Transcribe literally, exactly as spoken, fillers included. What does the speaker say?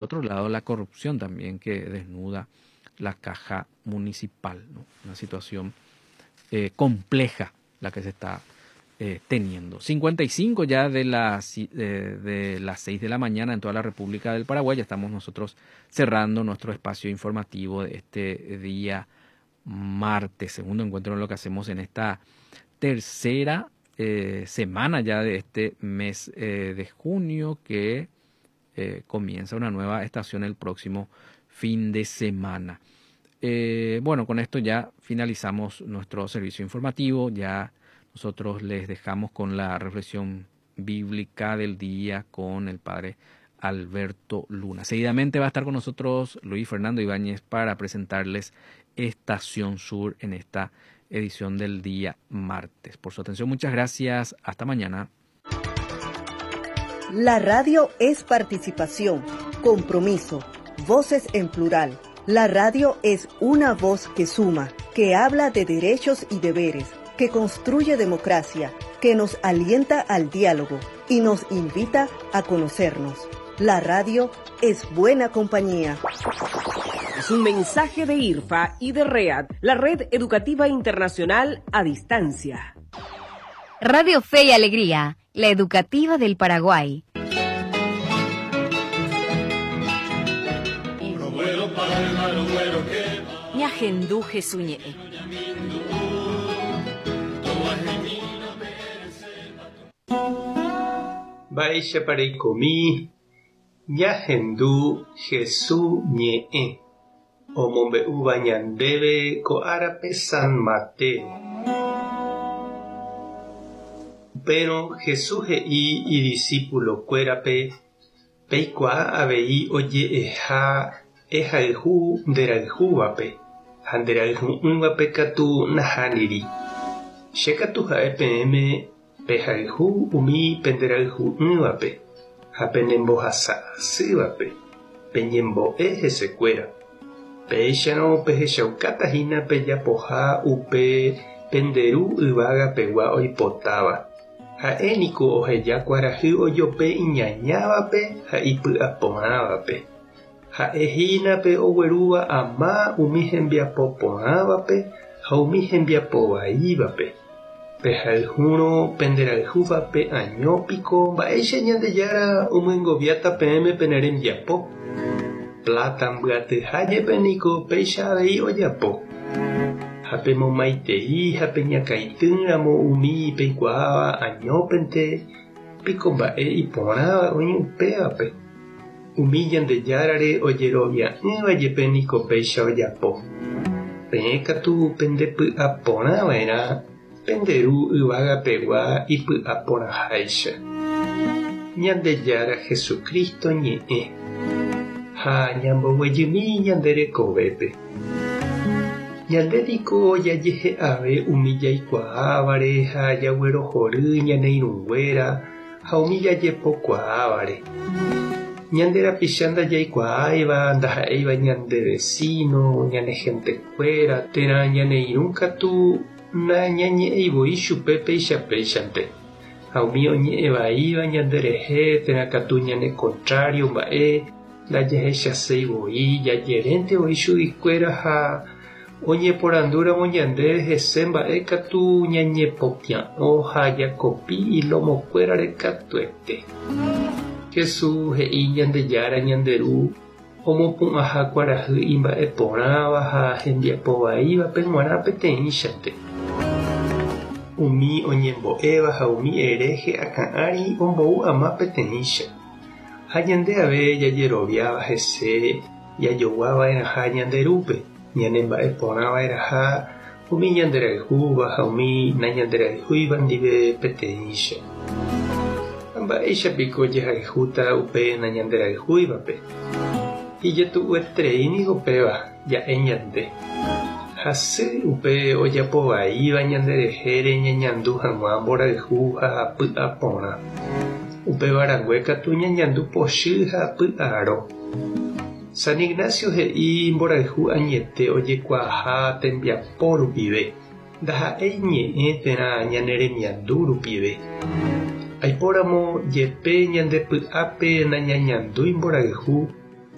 Otro lado, la corrupción también que desnuda la caja municipal, ¿no? Una situación eh, compleja la que se está eh, teniendo. cincuenta y cinco ya de las, eh, de las seis de la mañana en toda la República del Paraguay. Ya estamos nosotros cerrando nuestro espacio informativo de este día martes, segundo encuentro en lo que hacemos en esta tercera eh, semana ya de este mes eh, de junio, que eh, comienza una nueva estación el próximo fin de semana. Eh, bueno, con esto ya finalizamos nuestro servicio informativo. Ya nosotros les dejamos con la reflexión bíblica del día con el padre Alberto Luna. Seguidamente va a estar con nosotros Luis Fernando Ibáñez para presentarles Estación Sur en esta edición del día martes. Por su atención, muchas gracias. Hasta mañana. La radio es participación, compromiso, voces en plural. La radio es una voz que suma, que habla de derechos y deberes, que construye democracia, que nos alienta al diálogo y nos invita a conocernos. La radio es buena compañía. Es un mensaje de I R F A y de READ, la Red Educativa Internacional a Distancia. Radio Fe y Alegría, la educativa del Paraguay. Ñahendú Jesuñe. Mba'éicha pareikomi, ñahendu Jesús ñe'ẽ, omombe'úva ñandéve ko árape San Mateo. Upérõ Jesús he'i idiscípulo-kuérape peikuaa avei oje'eha ehayhu nderayhúvape ha nderayhu'ỹvape katu nahániri. Che katu ha'e peẽme pehayhu umi penderayhu'ỹvape ha penembohasa'asývape peñembo'e hesekuéra. Péicharõ pehechaukatahína pejapoha upe penderu yvágapegua oipotáva. Ha'e niko oheja kuarahy ojope iñañávape ha ipy'aporãvape. Ha'e hína pe oguerúva ama umi hembiapoporãvape ha umi hembiapovaívape. Pehayhúrõ penderayhúvape añópiko mba'éicha Ñandejára omyengoviáta peẽme pene rembiapo. Plata mbyatyha jepe niko péicha avei ojapo. Ha pemomaitei ha peñakãitýramo umi peikuaáva añópente piko mba'e iporãva oĩ upévape. Umi Ñandejárare ojerovia'ỹva jepe niko péicha ojapo. Peẽ katu pendepy'aporãva'erã penderu yvágapegua ipy'aporãháicha. Ñandejára Jesucristo ñe'ẽ ha ñamboguejymi ñande rekovépe. Ñande niko jajehe'ave umi jaikuaávare ha jaguerohory ñane irũnguéra ha umi jajepokuaávare. Ñande rapicha ndajaikuaáiva ndaha'éiva ñande vecino, ñane gentekuéra térã ñane irũ katu nañañe'ẽivoi chupe péichapéichante. Ha umi oñe'ẽvaíva ñanderehe térã katu ñane contrario mba'e ndajahechaseivoi jajeréntevoi chuguikuéra ha oñeporandúramo ñande hese mba'e katu ñañepopia'õ ha jakopi ilomokuérare katuete. Jesús he'i Ñandejára Ñanderu omopu'ãha kuarahy imba'eporãva ha hembiapovaívape g̃uarã peteĩchante. Umi oñembo'éva ha umi hereje akã'ári ombou ama peteĩcha. Ha ñande ave jajeroviáva hese jajoguava'erãha Ñanderúpe, ñanemba'eporãva'erãha umi ñanderayhúva ha umi nañanderayhúiva ndive peteĩcha. Mba'éicha piko jehayhúta upe nañanderayhúivape. Ijetu'ueterei niko péva ja'e ñande. Hasy upe ojapovaíva ñanderehére ñañandu hag̃ua mborayhu ha py'aporã. Upéva rangue katu ñañandu pochy ha py'aro. San Ignacio he'i mborayhu añete ojekuaaha tembiapo rupive, ndaha'éi ñe'ẽ térã ñane remiandu rupive. Aipóramo jepe ñande py'ápe nañañandúi mborayhu